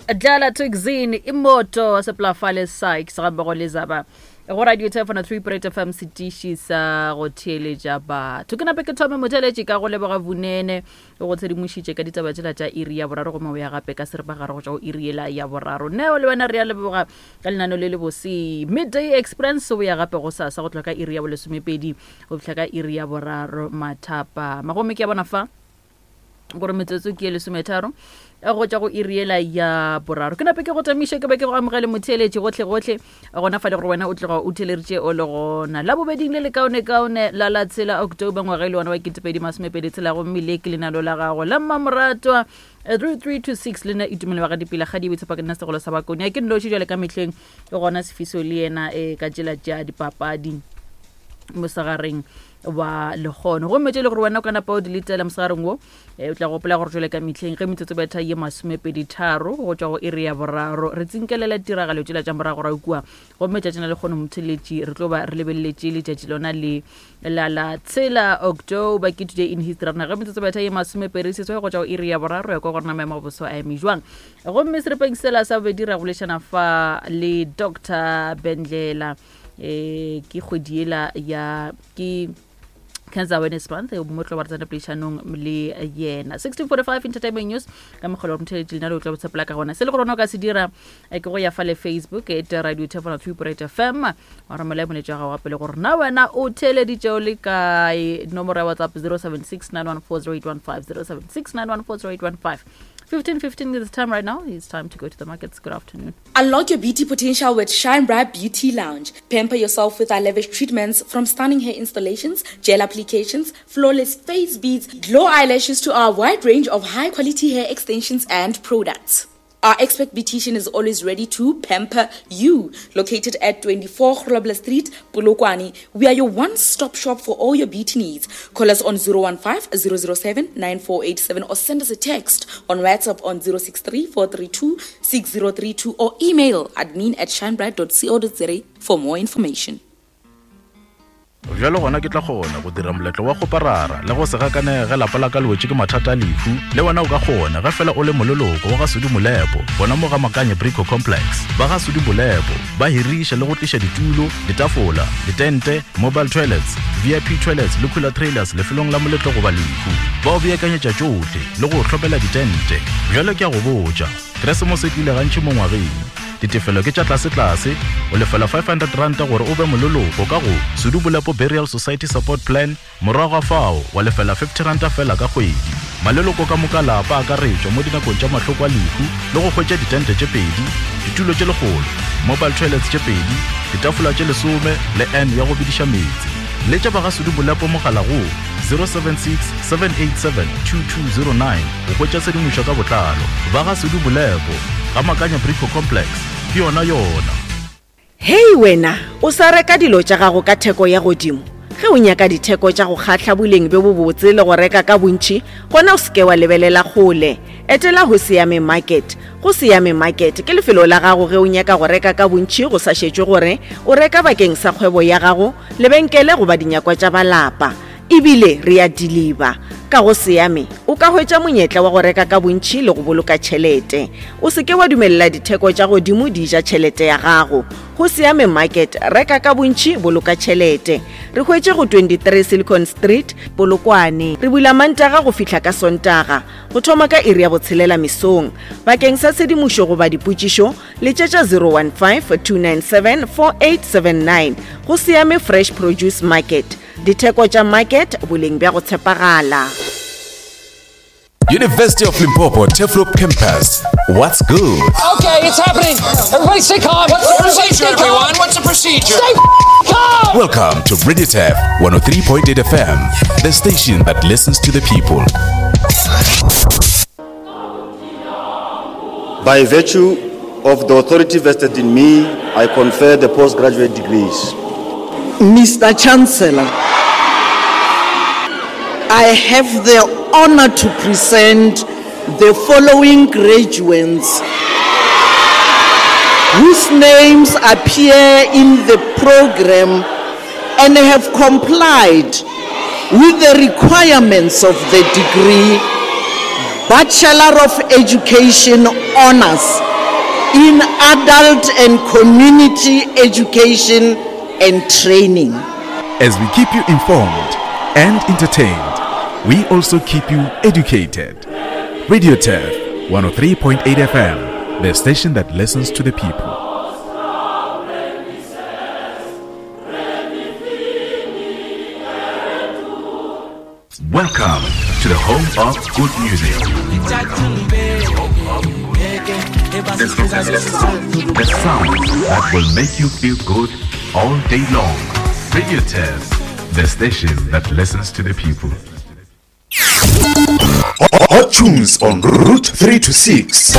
Dlala Tuxin imoto seplafale Sykes ga mmogo le zaba go radio telefono 3 Point FM setiši sa go theeletša batho ke nape ke thome motheeletši ka go leboga vunene o go tshedimošitše ka ditaba tšela tša iri ya boraro gomme o ya gape ka seripagare go tšwa go iri yela ya boraro neo le wena re ya leboga ka lenano le le bose midday experience o ya gape go sasa go tloga ka iri ya bolesomepedi go fihla ka iri ya boraro mathapama gomme ke ya bona fa gore metsotso ke ye lesometharo eh, go tšwa go iri yela ya boraro ke nape ke go tamiše ke be ke go amogele motheeletši gotlhe-gotlhe gona fa le gore wena o tloga o theeleditše o le gona la bobeding le lekaonekaone la la tshela october ngwaga e le wona wa ketepedi masomepedi tshela gomme le ke lenalo la gago la mmamoratwa 3326 le nna itumelo wa ga dipila ga di boitshepa ke nna segolo sa bakone a ke nnoši jale ka mehleng e gona sefiso le yena um ka tsela tša dipapadi mosegareng wa lekgono gomme tše e le gore wena o ka napa o di letela mosegareng wo eh, o tla gopola gore jale ka mehleng ge metsotso betha ye masomepedi tharo go tšwa go iri ya boraro re tsinkelela tiragalo tšela tša moragorago kua gomme tšatšing la lekgono motheletši re tlo ba re lebeleletše letšatši lona le la la tshela october ke today in history rena ge metsotso betha ye masomepedi seswai go tšwa go iri ya boraro ya kwa gorena maemo a boso a eme jwang gomme serepeng sela sa bobedi ra bolešana fa le dr bendlela eh ke kgwedi ela ya ke cancer awareness month mo tlo ba re tsena poledišanong le yena 1645 entertainment news ka mogolo wa motheletši lena le o tla botshepela ka gona se le gore o ka se dira eh, ke go ya fa le facebook e te radio thefona 3 fm wa romela moletša gago wa pele gore na wena o theeleditše o le kae nomoro ya whatsapp 076 914 0815 076 914 0815 15:15 is the time right now. It's time to go to the markets. Good afternoon. Unlock your beauty potential with Shine Bright Beauty Lounge. Pamper yourself with our lavish treatments from stunning hair installations, gel applications, flawless face beads, glow eyelashes to our wide range of high quality hair extensions and products. Our expert beautician is always ready to pamper you. Located at 24 Grobler Street, Polokwane, we are your one-stop shop for all your beauty needs. Call us on 015 007 9487 or send us a text on WhatsApp on 063 432 6032 or email admin at shinebright.co.za for more information. Bjalo gona ke tla kgona go dira moletlo wa kgoparara le go se gakanege ge lapa la ka le wetše ke mathata a lehu. Le wena o ka kgona ge fela o le moleloko wa ga Sudi Molepo gona mo ga Makanye Brico Complex. Ba ga Sudi Molepo ba hiriša le go tliša ditulo, ditafola, ditente, mobile toilets, VIP toilets le cooler trailers lefelong la moletlo goba lehu. Ba o beakanyetša tšohle le go o hlomela ditente. Bjalo ke a go botša, Keresemose e tlile gantši mo ngwageng. Ditefelo ke tša tlasetlase, o lefela R500 gore o be moleloko ka go Sudu Bolepo Burial Society Support Plan, morago ga fao wa lefela R50 feela ka kgwedi. Maleloko ka moka a lapa a akaretšwa mo dinakong tša mahloko a lehu le go hwetša ditente tše pedi, ditulo tše lekgolo, mobile toilets tše pedi, ditafola tše lesome le urn ya go bediša meetse. Letša ba ga Sudu Bolepo mogala go 076 787 2209 go hwetša tshedimošo ka botlalo. Ba ga Sudu Bolepo, ga Makanya Brico Complex, ke yona yona. Hei wena, o sa reka dilo tša gago ka theko ya godimo? Ge o nyaka ditheko tša go kgahla boleng bjo bobotse le go reka ka bontši, gona o se ke wa lebelela kgole. Etela Hosiame Market. Go Siame Market ke lefelo la gago ge o nyaka go reka ka bontši go sa šetšwe gore o reka bakeng sa kgwebo ya gago, lebenkele goba dinyakwa tša ba lapa. E bile re a diliba. Ka go Siame o ka hwetša monyetla wa go reka ka bontši le go boloka tšhelete. O se ke wa dumelela ditheko tša godimo di ja tšhelete ya gago. Go Siame Market, reka ka bontši, boloka tšhelete. Re hwetše go 23 Silicon Street, Polokwane. Re bula Mantaga go fihla ka Sontaga, go thoma ka iri ya botshelela mesong. Bakeng sa tshedimošo goba dipotšišo, letšetša 015 297 4879. Go Siame Fresh Produce Market. Ditheko tša market, boleng bja go tshepagala. University of Limpopo Turfloop Campus. What's good? Okay, it's happening. Everybody stay calm. What's the Everybody procedure, stay calm. everyone? What's the procedure? Stay calm. Welcome to Radio Tef 103.8 FM, the station that listens to the people. By virtue of the authority vested in me, I confer the postgraduate degrees. Mr. Chancellor, I have the honor to present the following graduates whose names appear in the program and have complied with the requirements of the degree Bachelor of Education Honors in adult and community education and training. As we keep you informed and entertained, we also keep you educated. Radio Turf 103.8 FM, the station that listens to the people. Welcome to the home of good music. The sound that will make you feel good all day long. Radio Test, the station that listens to the people. Hot tunes on Route 3 to 6.